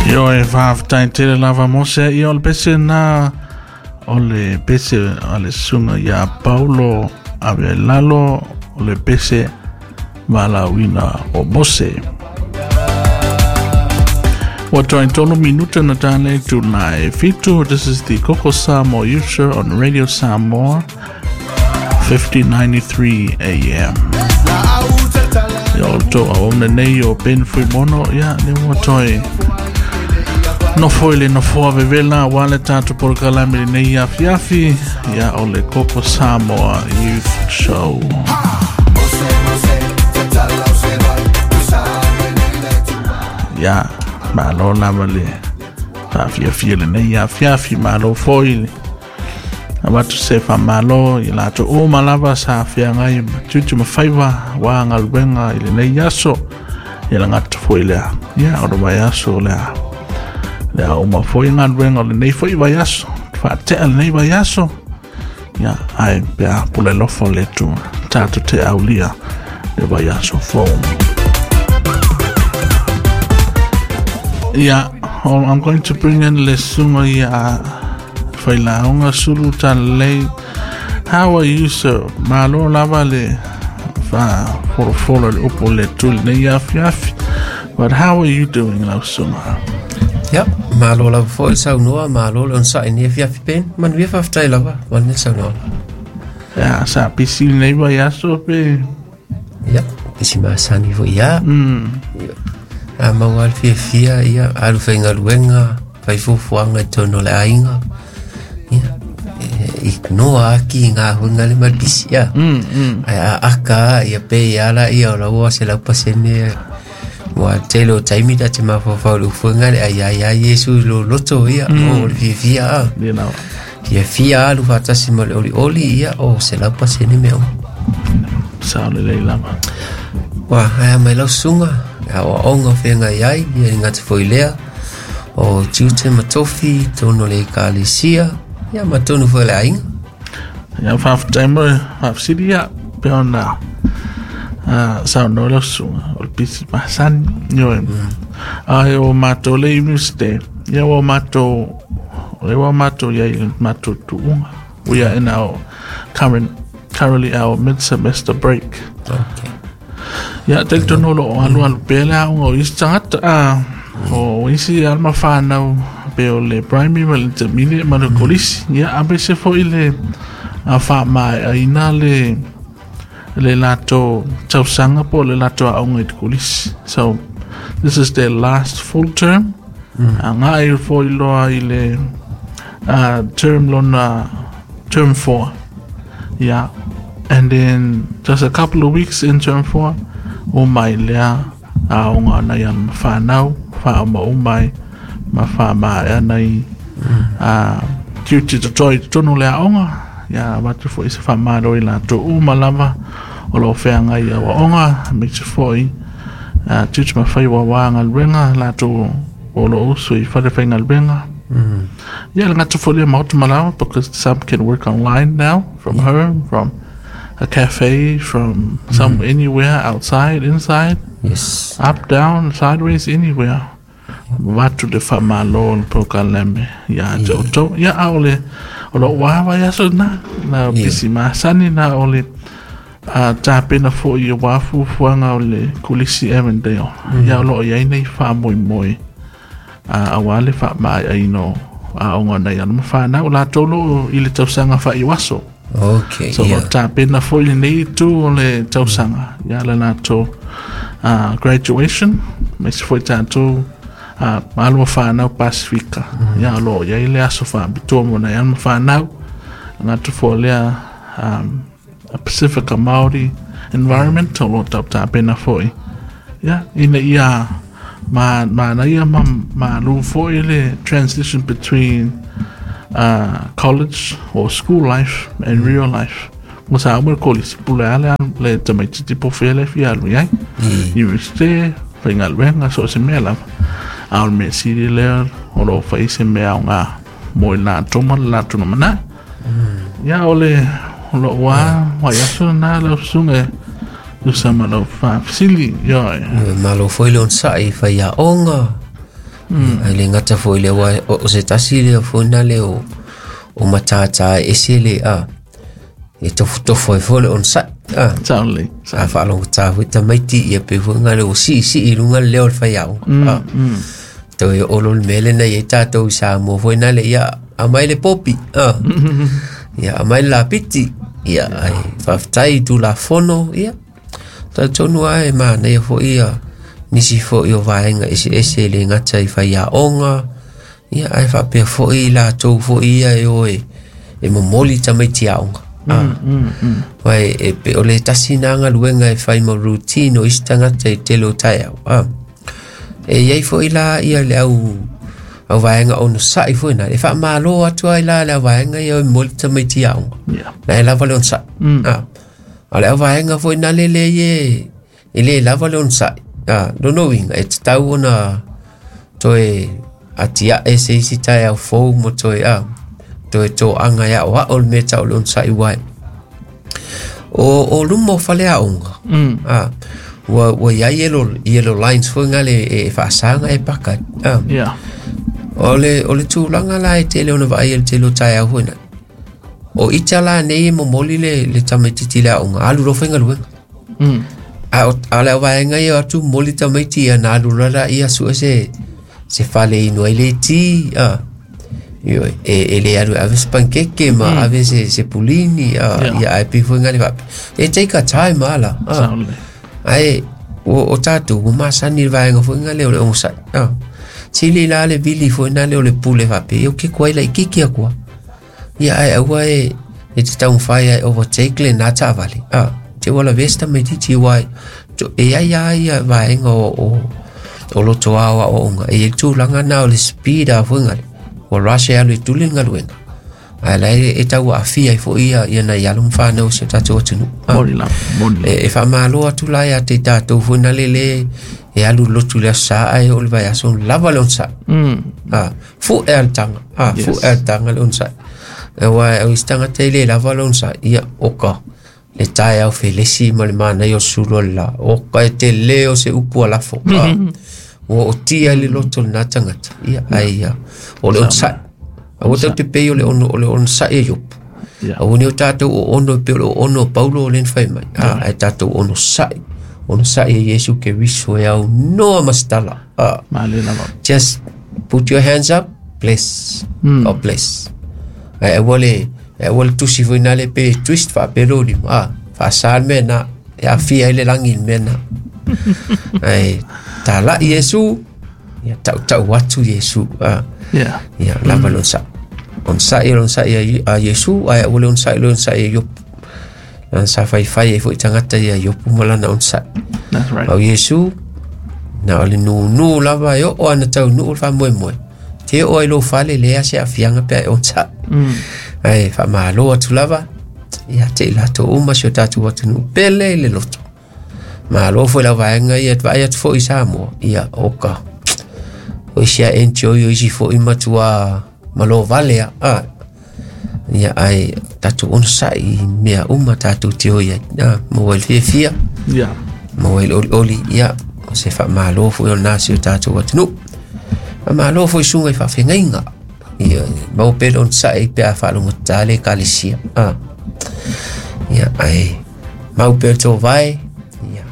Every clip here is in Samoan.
Ioe, faafetai tele lava Mose. Ia, o le pese na o le pese a le susuga ia Paulo ave ai lalo, o le pese valaauina o Mose. Ua toe 3 minuta na tālei tūnā e 7. This is the Koko Samoa Youth Show on Radio Samoa, 1593 AM. Ia, o tō auauna nei o Ben Fuimono, ia, le ua toe nofo i le nofoa vevela ua le tātou polokalame lenei afiafi, ia, o le Koko Samoa Youth Show. Ia, malo lava le faafiafia lenei afiafi, malo foi le avatu se faamalo i latou uma lava sa feagai ma tiute ma faiva ua galuega i lenei aso. Ia lagata foi lea, ia, o le vaiaso lea lea uma foi galuega o lenei foi vaiaso, faatea lenei vaiaso, ia, ae pea pule alofa o le Atua tatou te aulia le vaiaso fou. Yeah, oh, I'm going to bring in le susuga ia Failauga Sulu Talalei. How are you, sir? Malo lava le fa folofolo le upu le tuli nei afiafi. But how are you doing, lau susuga? Ia, malo lava foi le saunoa, malo le onosai ni afiafi pen. Manuia, faafetai lava, wane le saunoa. Yeah, sa pisi nei vaiaso pe. Ia, isi masani foi ia. A maua le fiafia, ia, alu faigaluega, fai fuafuaga i totonu o le aiga. Ia, e, i noa aki i ngā huinga le ma le pisi, ia. Ai a aka, ia pe ia la, ia o lau se lau pasene. Ua tele o taimi ta te mafaufau le ufuinga le ai ai ai Iesu i lo loto, ia, o le fiafia a. You know. Fiafia alu faatasi ma le olioli, ia, o 100% mea uma. Sa le lei lava. Ua aea mai lau susuga, aoaoga o feagai ai, ia le gata foi lea, o tiute ma tofi, tonu o le ekalesia, ia ma tonu foi o le aiga. Ia, faafetai mo faafesili, ia, pe ona saunoa lau susuga o le pisi masani. Ioe. Ai o matou le university, ia ua matou, o le ua matou ia i le matou tuuga. We are in our currently our mid-semester break. Ia, talitonu o lo o alualu pea le aoga o isi tagata, a o isi alo ma fanau pe o le primary ma le intermediate ma le kolisi. Ia, aemaise foi le faamaeaina le latou tausaga po o le latou aoga i le kolisi. So, this is their last full term. Agai foi loa i le term lona term 4. Yeah. And then just a couple of weeks in term 4, o mai lea aoga nai alo ma fanau, whaoma o mai, ma whaamaea nai tiute totoe i totonu o le aoga. Ia, avatu foi se faamalo i latou uma lava o lo o feagai i aoaoga, aemaise foi tiute ma faiva aua galuega, latou o lo o usu i fale faigaluega. Yeah, le gata foi lea maota malawa, because some can work online now from home, from a cafe, from some anywhere, outside, inside, up, down, sideways, anywhere. Vatu le faamalo le polokalame ia te outou. Ia, a o le o lou vaiaso na, na pisi masani na o le tapena foi aua fuafuaga o le Kolisi Avondale. Ia, o loo iai nei faamoemoe aua le faamaeaina o aoga nai alo ma fanau latou lo i le tausaga faaiuaso. So tapena foi lenei itu o le tausaga ia le latou graduation, aemaise foi tatou alo ma fanau Pasifika. Ia, o lo o iai le aso faapitoa mo nai alo ma fanau gata foi lea Pacifica Māori environment o lo o tapena foi. Ia, ina ia ma manaia ma malu foi le transition between college or school life and real life. Mo sa uma le kolisi, pule ale le tamaititi po fea le fia alu iai. University, faigaluega, so o se mea lava. A o le mea sili lea o lo o fai se mea o ngā mo i latou ma le latou lumanai. Ia, o le o lou vaiaso lena lau susuga e tusa ma lau faafesili. Ioe. Malo foi le onosai i faiaoga. Ai le gata foi le wa o se tasi le foi na le o matata ese le a e tofu ai foi le onosai a Totally. A faalogotā foi tamaiti ia pe foi nga le o siisii i luga le leo o le faiaoga a toe olo le mea lena i ai tatou i Samoa foi na le ia aumai le popi a ia aumai le lapiti ia ai faafetai i tulafono ia talitonu lava e manaia foi ia nisi foi o vaega eseese e le gata i faiaoga ia ae faapea foi i latou foi ia e o e momoli tamaiti aoga Vai e pe o le tasi na galuega e fai ma routine o isi tagata i tele o taeao e iai foi la ia le au vaega onosai foi na e faamālō atu ai la le au vaega ia e momoli tamaiti aoga na e lava le onosai a le au vaega foi na le lea e lē lava le onosai lona uiga e tatau ona toe atiae se isi taeao fou ma toe toe toaga e aoao le mea tau le onosai uae o luma o fale aoga ua iai yellow lines foi gale e faasaga e paka o le tulaga la e tele ona vaai e le tele o taeao foi na o ita la nei e momoli le tamaititi le aoga alu loa faigaluega a le auvaega ia atu momoli tamaiti ia na alu loa laia sue se fale inu ai le ti e le alu e ave se pankeke ma ave se pulini ia ae pei foi gale faapea e take a time ala ae o tatou ua masani le vaega foi gale o le onosai sili la le vili foi nale o le pule faapea ia o ke koai laititi akua ia ae aua e te taumafai ai overtake lena taavale te ua lavea se tamaititi uae e ai a ia vaega o loto ao aoaoga e iai le tulaga na o le speed a foi gale ua rush e alu e tuli le galuega ae lae e tau aafia ai foi ia nai alo ma fanau o si o tatou atunuu e faamālō atu la ia te i tatou foi na le e alu lotu le aso sa ae oo le vaiaso lava le onosai fu'e a le taga fu'e a le taga le onosai aua o isi tagata e lē lava le onosai ia oka le taeao felesi ma le manaia o sulu o le lā oka e telē o se upu alafo ua otia i le loto lena tagata ia ae ia o le onosai aua tatou te pei o le onosai e Iopu aua nei o tatou oono e pei o le oono o Paulo o lena fai mai ae tatou onosai onosai e Iesu Keriso e aunoa ma se tala just put your hands up, bless, God bless ae aua le tusi foi na le pe twist faapea lou lima faasā le mea na e aafia ai le lagi i le mea na ae talai Iesu ia tautau atu Iesu ia lava le onosai onosai le onosai a Iesu ae aua le onosai le onosai a Iopu lana sa faifai ai foi tagata ia Iopu ma lana onosai au Iesu na o le nūnū lava e oo ana taunuu le faamoemoe te oo ai lou fale lea se aafiaga pe ae onosai ae faamālō atu lava ia te i latou uma si o tatou atunuu pele i le loto malo foi lau vaega ia vaai atu foi i Samoa ia oka o isi a enjoy o isi foi matua malo vale a ia ae tatou onosai i mea uma tatou te o ai maua i le fiafia maua i le olioli ia o se faamālō foi o lena si o tatou atunuu faamālō foi suga i faafegaiga ia maua pea le onosai pe a faalogotatā le ekalesia ia ae mau pea le tovae ia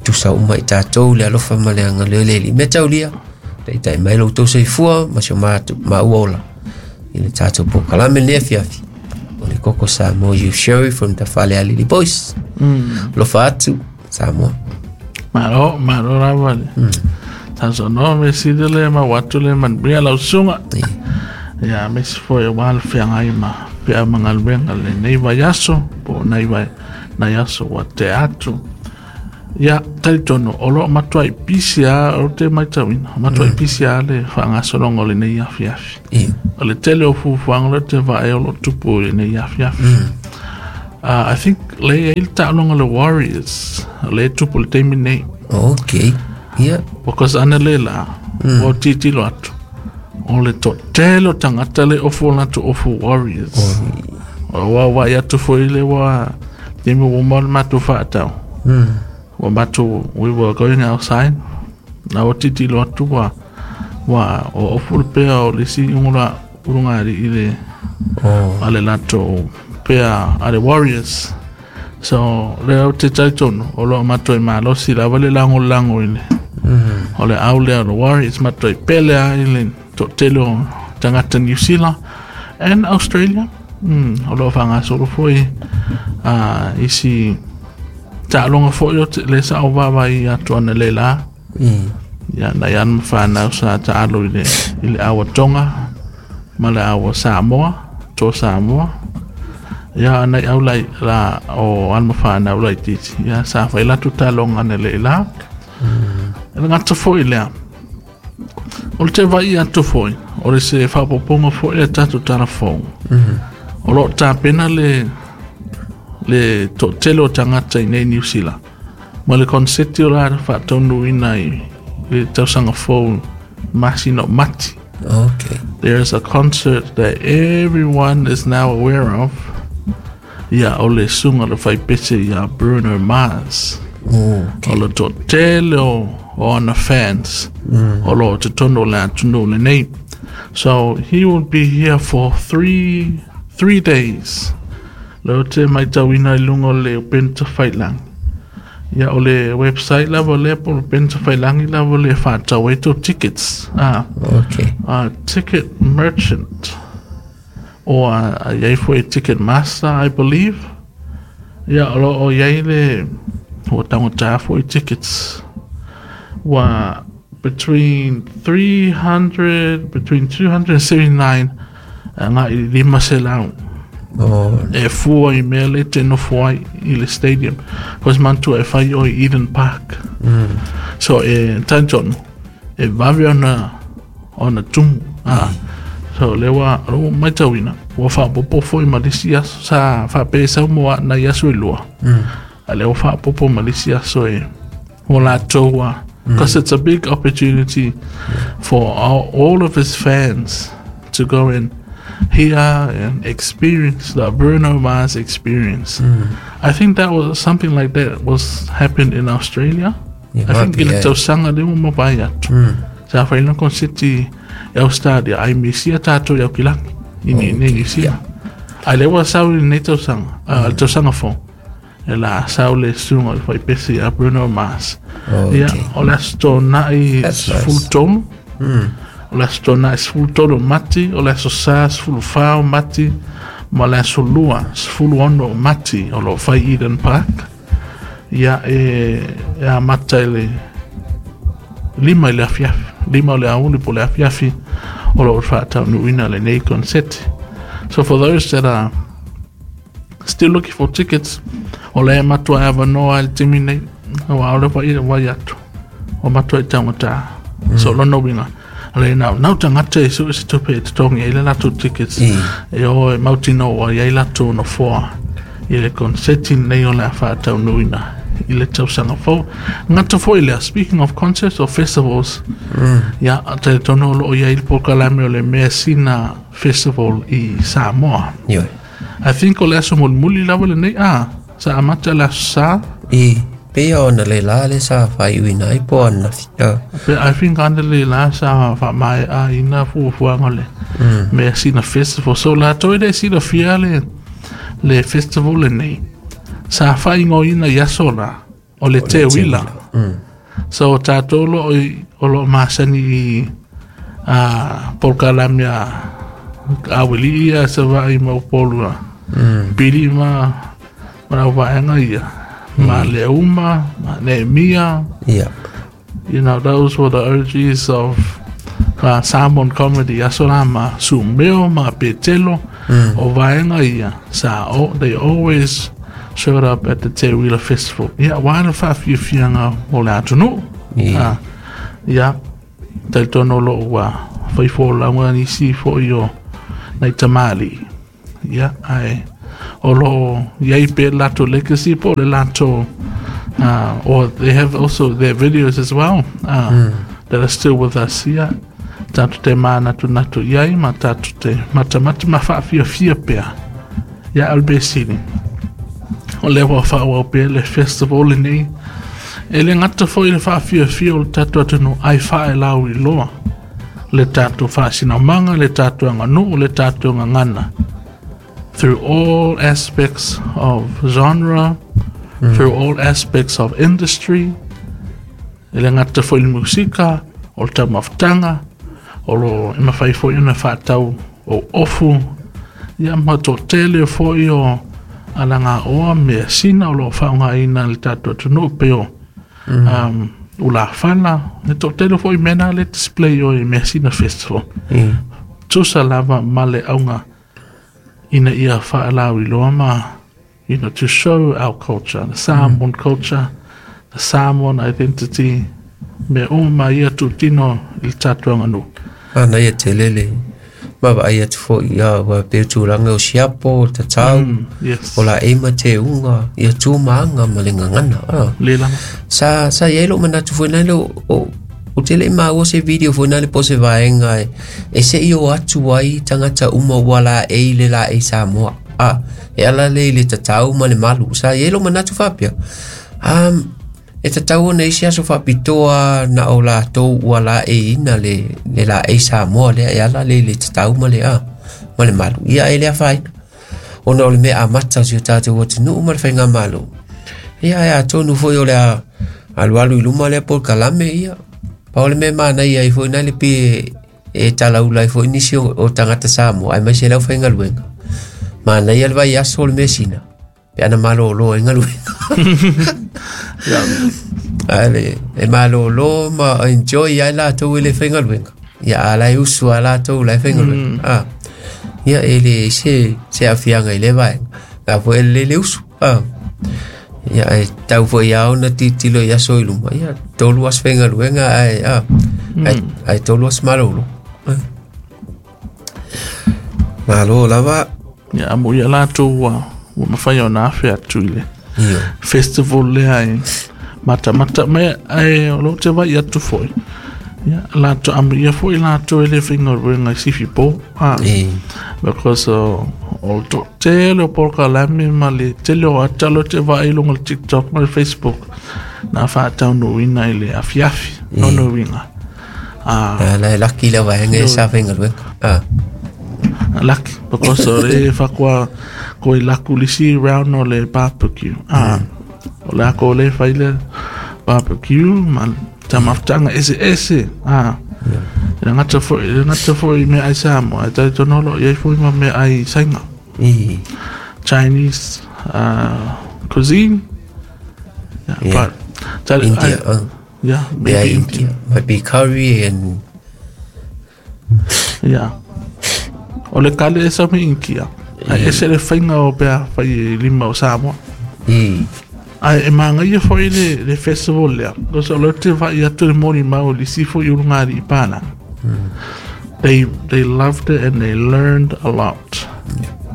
tusa uma i tatou le alofa ma le agalelei le Alii mea taulia taitai mai lo outou soifua ma si o maua ola i le tatou polokalame lenei afiafi o le Koko Samoa Youth Show from the Falealili Boys alofa atu Samoa malo malo lava le sausaunoa me sili le mau atu le manuia lau susuga ia aemaise foi aua le feagai ma pea ma galuega lenei vaiaso po o nai aso ua tea atu ia talitonu o loo matuai pisi a o te matauina matuai pisi a le faagasologa o lenei afiafi o le tele o fuafuaga o lea te vaai o loo tupu i lenei afiafi I think le i ai le taaloga le Warriors o le tupu le taimi nei okay yeah because ana le la ua tilotilo atu o le toatele o tagata le ofu o latou ofu Warriors o ua vaai atu foi le ua taimi ua uma le matou faatau ua matou we were going outside. Na ua tilotilo atu ua ua o ofu le pea o le isi ugula ulugalii i le a le latou pea a le Warriors. So lea ou te talitonu o lo o matuai malosi lava le lagolago i le o le au lea o le Warriors, matuai pele lava i le toatele o tagata New Zealand and Australia. O lo o faagasolo foi isi taaloga foi o te, le sa ou vaavaai atu analeila. Ia, nai ana ma fanau sa taalo i le aua Tonga ma le aua Samoa, to Samoa. Ia, nai au lai la o ana ma fanau laitiiti. Ia, sa fai latou taaloga analeila. E le gata foi lea. O le te vaai atu foi, o le se faaopoopoga foi a tatou tala fou. O lo o tapena le toatele o tagata i nei Niu Sila ma le konseti o la faataunuuina i le tausaga fou masina o Mati. There is a concert that everyone is now aware of. Ia, o le susuga le faipese ia Bruno Mars. O le toatele o ana fans o lo o totonu o le atunuu lenei. So he will be here for 3 days. Le o te maitauina i luga o le upega tafailagi. Ia, o le website lava lea po o le upega tafailagi lava le faatau ai tou tickets. Ah, Ticket Merchant or iai foi Ticket Master, I believe. Ia, o lo o iai le ua taugata foi tickets. Ua between 300, between 279 agai i 500 e fua i mea le te nofo ai i le stadium. Cause manatua e fai o i Eden Park. So e talitonu e vave ona tumu. Ah. So le ua ua maitauina ua faaopoopo foi ma lisi aso sa faapea sau mo nai aso e 2. A le ua faaopoopo ma lisi aso e o latou a. Because it's a big opportunity for all of his fans to go and hear and experience the Bruno Mars experience. I think that was something like that was happened in Australia. Yeah, I think might be, i le yeah. tausaga lea ua mavae atu. Sa fai na konseti i Australia ai misia tatou i Aukilagi i nei nei New Zealand. Ai le ua sau i lenei tausaga, le tausaga fou. E la sau le susuga o le faipese ia Bruno Mars. Ia, o le aso Toonai That's nice. 13. O le aso Toonai 13 o Mati, o le aso Sa 14 o Mati, ma le aso Lua 16 o Mati o lo o fai Eden Park. Ia, e amata i le 5 i le afiafi, 5 o le aoauli po o le afiafi o lo o faataunuuina lenei konseti. So for those that are still looking for tickets, o le matua e avanoa i le taimi nei, aua o le vai vai atu, o matua i taugata. So lona uiga, le nau, nau tagata e sue se tupe e totogi ai le latou tickets. E o e mautinoa i ai latou nofoa i le konseti nei o le a faataunuuina i le tausaga fou. Gata foi lea, speaking of concerts or festivals, ia, talitonu o lo o i ai le polokalame o le Measina Festival i Samoa. I think o le aso mulimuli lava lenei, ah, sa amata le aso Sa. I pei ona le la le sa faaiuina ai po ananafi. I think ana le la sa faamaeaina fuafuaga o le Measina Festival. So latou e le silafia le festival lenei. Sa faaigoaina i aso la o le Teuila. So tatou lo o lo o masani i a polokalame a Auili'i ia Savaii ma Upolu a. Pili ma lau vaega ia. Ma Leuma, ma Nehemia. Those were the OGs of Samoan comedy. Aso la ma Sumeo, ma Petelo, o vaega ia. Sa, oh, they always showed up at the Teuila Festival. Ia, wa le faafiafiaga o le atunuu. Ah, ia, talitonu o lo o ua fai folauga nisi foi o nai tamalii. Ia, ae o lo o iai pea le latou legacy po o le latou or they have also their videos as well that are still with us. Ia, tatou te mānatunatu i ai ma tatou te matamata ma faafiafia pea. Ia, o le mea sili, o lea ua faaauau pea le festival lenei. E le gata foi le faafiafia o le tatou atunuu ae faelauiloa le tatou faasinaumaga le tatou aganuu le tatou gagana through all aspects of genre, through all aspects of industry. E le gata foi le musika, o le taumafataga, o lo e mafai foi ona faatau o ofu, ia ma toatele foi o alagaoa measina o lo o faaaogaina le tatou atunuu pei o ulafala, le toatele foi mea na le display o i Measina Festival. Tusa lava ma le auga ina ia faalauiloa ma, to show our culture, the Samoan culture, the Samoan identity, me uma ia tutino i le tatou aganuu. Ana ia tele le ma vaai atu foi ia ua pe tulaga o siapo o tatau Yes. o la e ma te unga ia tu maanga ma le gagana ah. Le lava. Sa i ai lou manatu foi nale o te le maua se video foi nale po se vaega e se i o atu ai tagata uma ua laei le laei Samoa a e ala le i le tatau ma le malu. Sa i ai lou manatu faapea e tatau ona isi aso faapitoa na o latou ua laeiina le laei Samoa lea e ala le i le tatau ma le a ma le malu ia e le afaina ona o le mea amata o si o tatou atunuu ma le faigamalo. Ia e atonu foi o le a alualu i luma lea polokalame ia pau le mea manaia ai foi nai le pi e talaula ai foi nisi o tagata Samoa ai mai se lau faigaluega manaia le vaiaso o le measina pe ana malōlō ai galuega ae le e malōlō ma enjoy ai latou e le faigaluega ia a la e usu a latou la e faigaluega ah ia e le se afiaga i le vaega la foi e le le usu ah ia e tau foi ia ona titilo i aso i luma ia 3 aso faigaluega ae ah ae 3 aso malōlō. Malo lava. Ia mo ia latou ua mafai ona afe atu i le Io. festival lea e matamata mai ae o lo te vai atu foi. Ia latou amu ia foi latou e le faigaluega i sifi po. Ah, because o le toatele o polokalame ma le tele o ata lo te vaai i luga o le TikTok ma le Facebook na faataunuuina i le afiafi lona uiga. Ah, la e laki le vaega e sa faigaluega ah lucky because o le fakoa ko i laku lisi round o le barbecue. Ah, o le ako le fai le barbecue ma taumafataga ese ese. Ah, e le gata foi me ai Samoa, e tai tonolo i ai foi ma me ai Saina. Chinese cuisine. Yeah, but that, India yeah, maybe yeah, India. India might be curry and Yeah. O le kale e sa me Inkia. Ai ese le whainga o pea whai e lima o Samoa. Ai e maangaia foi le festival lea. Because o le te vai atu le moni mau le si foi ulu ngā i pāna. They loved it and they learned a lot.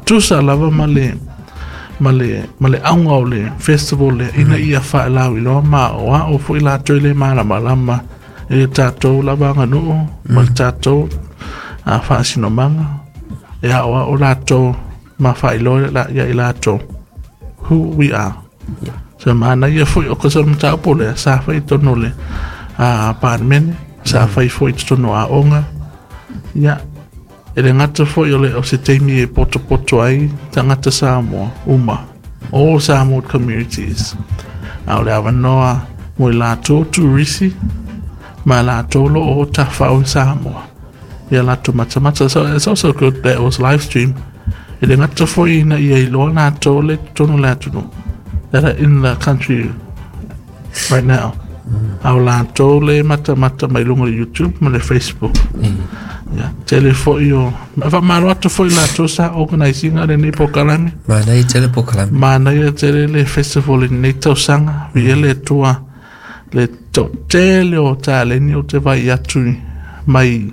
Tusa lava ma le auga o le festival lea ina ia faelauiloa ma o a o foi latou i le malamalama i le tatou lava aganuu ma le tatou a faasinomaga e aoao latou ma faailoa ia i latou who we are. So manaia foi o ka sa mataupu lea sa fai tonu le a Palemene, sa fai foi totonu o aoga. Ia, e le gata foi o le o se taimi e potopoto ai tagata Samoa uma, all Samoan communities. A o le avanoa mo i latou turisi ma latou lo o tafao i Samoa. Ia latou matamata. So it's also good that it was live stream. E le gata foi ina ia iloa latou le totonu le atunuu that are in the country right now. A o latou le matamata mai luga o le YouTube ma le Facebook. Ia, tele foi o faamalo atu foi latou sa organise ina lenei polokalame. Manaia tele polokalame. Manaia tele le festival i lenei tausaga. Viia le Atua le toatele o taleni o te vai atu mai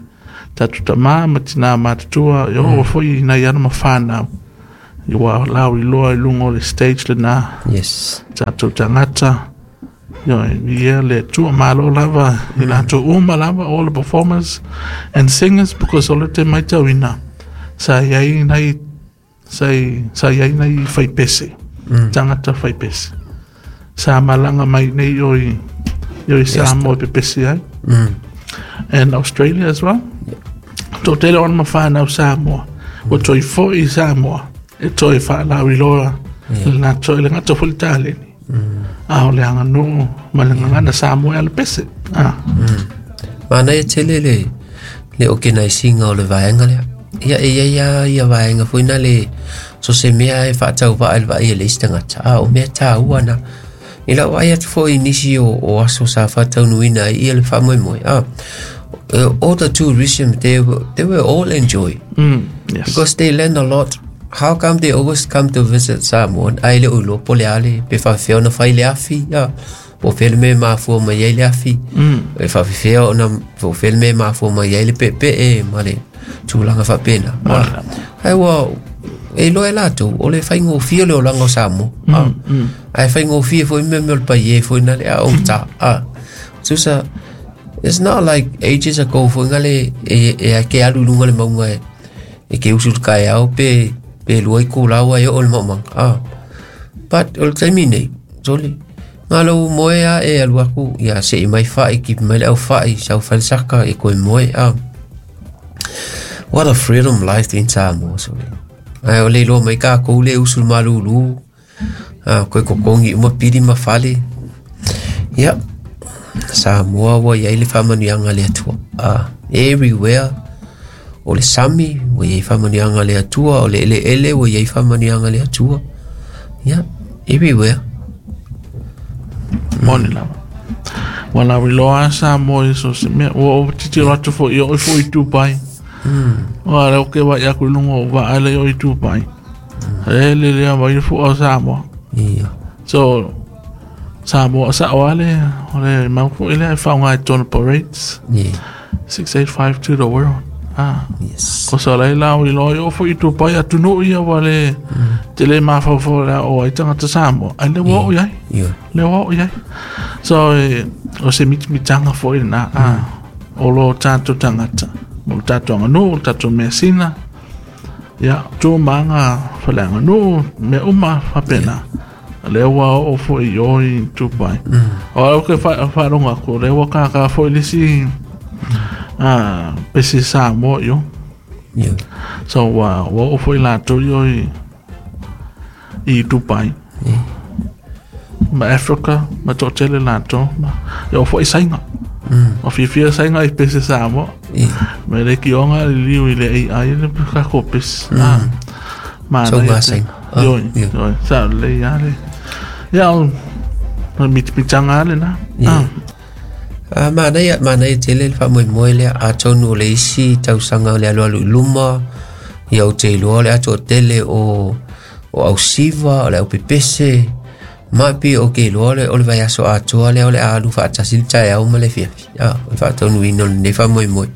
tatou tamā ma tinā matutua e oo foi i nai ana ma whānau. I ua lauiloa i luga o le stage lena. Tatou tagata. Ioe, ia le Atua malo lava i latou uma lava, all the performers and singers, because o le te maitauina sa i ai nai sa i ai nai faipese, tagata faipese. Sa malaga mai nei o i i Samoa e pepesi ai. And Australia as well. Toatele o ana ma fanau Samoa. Ua toe foi i Samoa e toe faalauiloa le latou, e le gata foi le taleni, a o le aganuu ma le gagana Samoa e alapese. Manaia tele le organizing o le vaega lea. Ia e iai lava ia vaega foi na le so se mea e faatauvaa i le vaai a le isi tagata, a o mea taua na. I lau vaai atu foi i nisi o aso sa faataunuuina ai ia le faamoemoe, all the tourism, they were all enjoy. Yes. Because they learn a lot. How come they always come to visit Samoa? Ai le ulo po le ale, pe faafefea ona fai le afi, ia. Po o fea le mea e mafua mai ai le afi. E faafefea ona, po o fea le mea e mafua mai ai le peepee ma le tulaga faapena. Ai ua, e iloa e latou, o le faigofie o le olaga o Samoa. Ae faigofie foi mea o le paie foi na le a ogata. Tusa, it's not like ages ago foi ngale e ke alu i luga le mauga e ke usu le kaeao pe lua i kulaua e oo le maumauga. But o le taimi nei, sole, ngalo moe a e alu aku, ia se i mai whai, ki mai le au whai, sau whai saka e koe moe. What a freedom life in Samoa, sole. Ai o le iloa mai kākou le usu le malulu, koe kokongi uma pili ma fale. Ia, Samoa ua iai le faamanuiaga a le Atua. Everywhere, o le sami, ua iai faamanuiaga a le Atua, o le eleele, ua iai faamanuiaga a le Atua. Ia, everywhere. Moni lava. Ua lauiloa Samoa i so se mea. Ua ou titilo atu foi i oi foi i Dubai. Ua leo ke vai aku i lunga o vaa le i Dubai. E le lea mai fua o Samoa. Ia. So, Samoa sa o ale, o le mau foi lea e whaonga i tōna parades. Yeah. 6852 the world. Yes. Ko sa lei lau i loa i o foi i Dubai atunuu ia ua le te le mafaufau le o ai tangata Samoa. Ai le ua o iai. Ia. Le ua o iai. So, o se mitamitanga foi lena. O lo tātou tangata. Mo le tātou aganuu, le tātou measina. Ia, tu maanga whale aganuu, mea uma whapena. Le ua o foi i o i Dubai. O au ke wharonga ko, le ua kākā foi lisi pesi Samoa i o. Ia. So, ua o foi lātou i o i Dubai. Ma Africa, ma toatele lātou. Ma, o foi sainga. O fiafia sainga i pesi Samoa. Ia. Me le kionga le liu i le AI le kako pesi. Ma So ngā sainga. Ioi, Ia. ioi. Sa le ia le. Ia o mitamitanga ale na. Ia. Manaia tele le faamoemoe lea, atonu o le isi tausaga o le alualu i luma, ia ou te iloa o le atoatele o ausiva, o le aupepese, ma pe o ke iloa o le vaiaso atoa lea o le alu faatasi le taeao ma le afiafi. O le faataunuuina o lenei faamoemoe.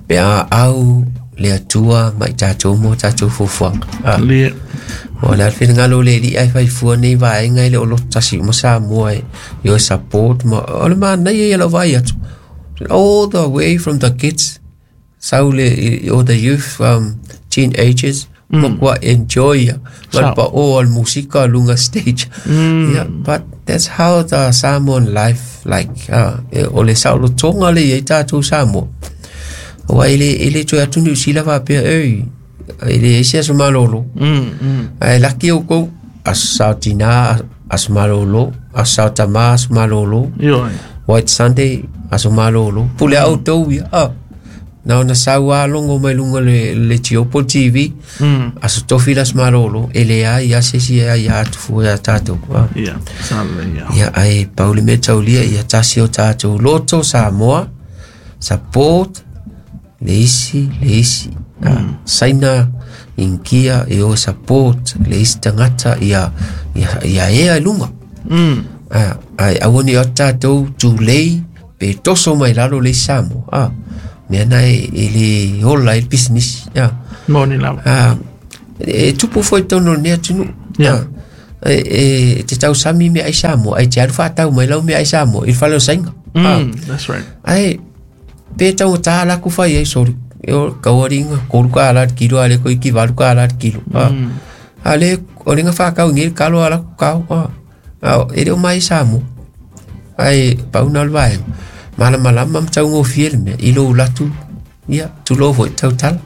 Pe a au le Atua ma i tatou mo tatou fuafuaga. Le O le finagalo le alii ae faifua nei vaega i le o loto tasi uma Samoa e i o support ma o le manaia ia lau vaai atu. All the way from the kids, sau le all the youth, teenagers, ma enjoy ia. Ma pa o al musika lunga stage. Yeah, but that's how the Samoan life like. O le saolotoga le iai tatou Samoa. Aua e le toe atu Niu Sila faapea, ei, e le ese aso malolo. Ae laki o kou, aso sao tina, aso malolo, aso sao tama, aso malolo. Ioi. White Sunday, aso malolo. Pule au tau ia. Na ona sau a longo mai lunga le Tiopo TV, aso tofi las malolo, e le ai ia se si ai ia atu fua ia tātou. Ia, sa le ia. Ia, ai pauli me taulia ia tasi o tātou loto Samoa, support, le isi, le isi. Saina inkia e o support le isi tangata ia ea i lunga. Ai aua ni o tātou tūlei pe toso mai lalo le Samoa. Mea na e le hola e le business. Moni lava. E tupu foi tonu le atunuu. E te tausami mea ai Samoa, ai te alu whaatau mai lau mea ai Samoa, i le fale o sainga. That's right. Ai, pe tau tā laku whai ai, sorry. E o kauaringa, koru ka ala kilo, ale ko iki valu ka ala kilo. Ale, o lenga whakau ngi kalo ala kau. E le o mai Samoa. Ai pauna o le vaega malamalama ma taugofie le mea i lou latu ia tulou foi tautala.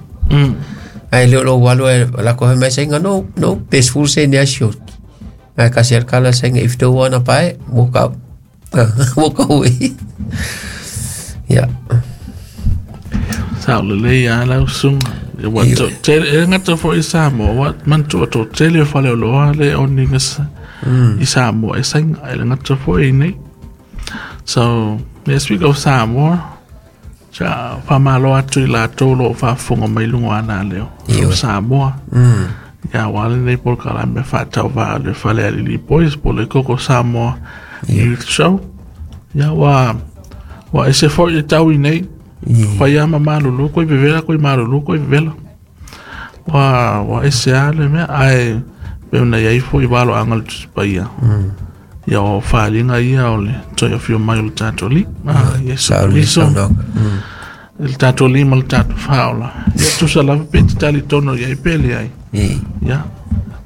Ai le o lou alu e lako fai mai sainga no no pe 10 sene a sioki. Ai kasi al kala sainga, if you don't wanna buy it, walk out. Walk away. Yeah. Sa o lelei a lau susuga. Ua tele e gata foi i Samoa, ua manatua toatele o faleoloa le oni i Samoa e sainga e le gata foi nei. So, yeah, speak of Samoa, sa faamalo atu i latou lo o faafofoga mai luga ana leo. From Samoa. Ia ua lenei polokalame faatauvaa le Falealili Boys po le Koko Samoa Youth Show. Ia ua ese foi e tau i nei. Fai ama malulu koe vevela koe malulu koe vevela. Ua ese a le mea ae pe ona iai foi valo anga le Tusi Paia. Ia o faaliga ia o le toe afio mai o le tatou Alii. Ah, Iesu Sa o le Keriso. Saunoaga. Le tatou lima le tatou faaola. Ia tusa lava pe te talitonu i ai pe leai. Ia,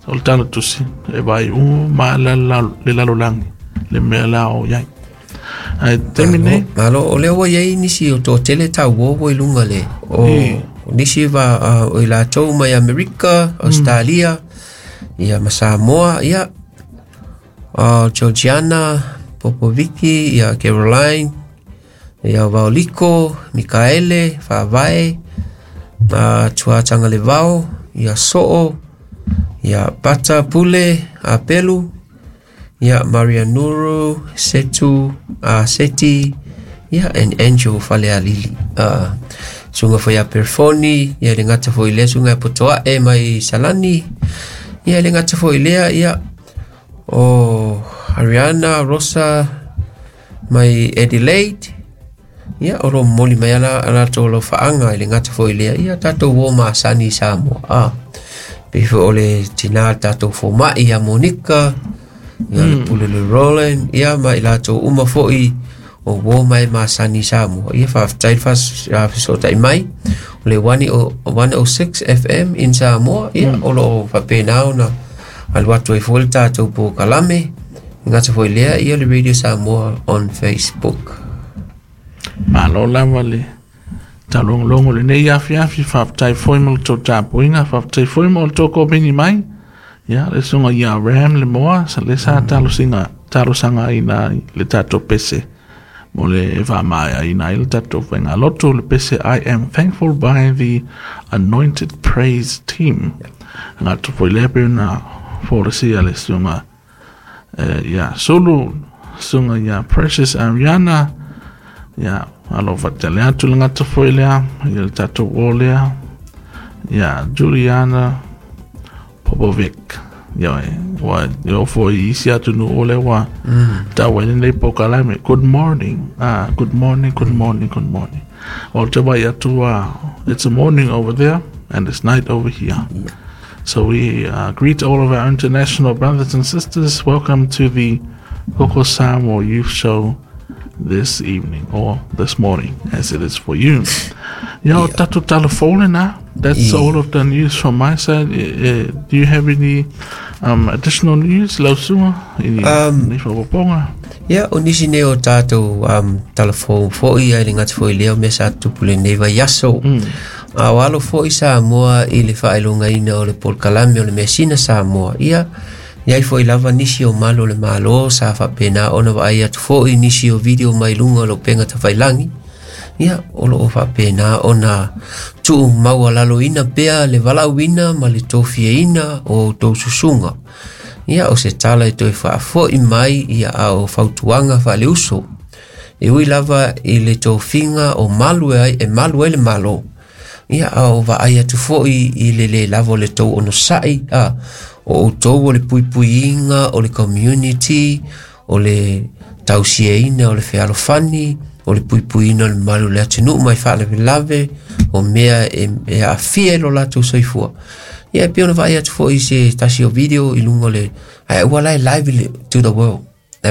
o le tala tusi, e vai u ma la le lalolagi, le mea la o iai. Ai taimi nei, Malo, o lea ua iai nisi o toatele tauo i luga le o o nisi va o i latou mai Amerika, Australia, ia ma Samoa, ia Georgiana, Popoviki, ia Caroline, ia Vaoliko, Mikaele, Faavae, Tuatangalevao, ia So'o, ia Pata Pule, Apelu, ia Maria Nuru, Setu, Seti, ia and Angel Falealili. Sunga foi a Perfoni, ia le gata foi lea sunga e potoa'e mai Salani, ia le gata foi lea, ia o Ariana Rosa mai Adelaide, ia o lo momoli mai ala ala latou lo faaga i le gata foi lea, ia tatou uo masani i Samoa. Pe foi o le tinā le tatou foma'i ia Monika, ia le pule le Roland, ia ma i latou uma foi o uo mai masani i Samoa. Ia faafetai le fesoota'i mai o le 106 FM in Samoa, ia o loo faapena ona alu atu ai foi le tatou polokalame gata foi lea ia le Radio Samoa on Facebook. Malo lava le taulogologo lenei afiafi, faafetai foi mo le tou tapuaiga, faafetai foi mo le tou komeni mai. Ia, le susuga ia Ram le moa, sa le sa talosinga, talosagaina le tatou pese mo le faamaeaina ai le tatou faigalotu, le pese I Am Thankful by the Anointed Praise Team. Gata foi lea pe na folasia le susuga ia Sulu, susuga ia Precious Ariana, ia alo fatele atu le gata foi lea, ia le tatou o lea, ia Juliana Popovic. Ia e, ua o foi isi atu nu o le ua tau ai lenei polokalame. Good morning. Ah, good morning, good morning, good morning. O te vai atu, it's a morning over there and it's night over here. So we greet all of our international brothers and sisters. Welcome to the Koko Samoa Youth Show this evening or this morning, as it is for you. Yo, tatou telefone na. That's all of the news from my side. Do you have any additional news, Lausua? Any ni whakaponga? Ia, o nisi nei o tātou telefone foi ai le gata foi lea o mea sa tupu lenei vaiaso. A o alo foi Samoa i le faailogaina o le polokalame o le measina Samoa. Ia, iai foi lava nisi o malo o le Malo sa faapena ona vaai atu foi nisi o video mai luga o le upega tafailagi. Ia, o loo faapena ona tuu maualaloina pea le valaauina ma le tofiaina o outou susuga. Ia, o se tala e toe faafo'i mai ia a o fautuaga faaleuso. E ui lava i le tofiga o malu e ai, e malu ai le Malo. Ia, a o vaai atu foi i le lē lava o le tou onosa'i a o outou o le puipuiga o le community, o le tausiaina o le fealofani, o le puipuiina o le mamalu o le atunuu mai faalavelave o mea e aafia i lo latou soifua. Ia, e pei ona vaai atu foi i se tasi o video i luga o le ae ua la e live to the world.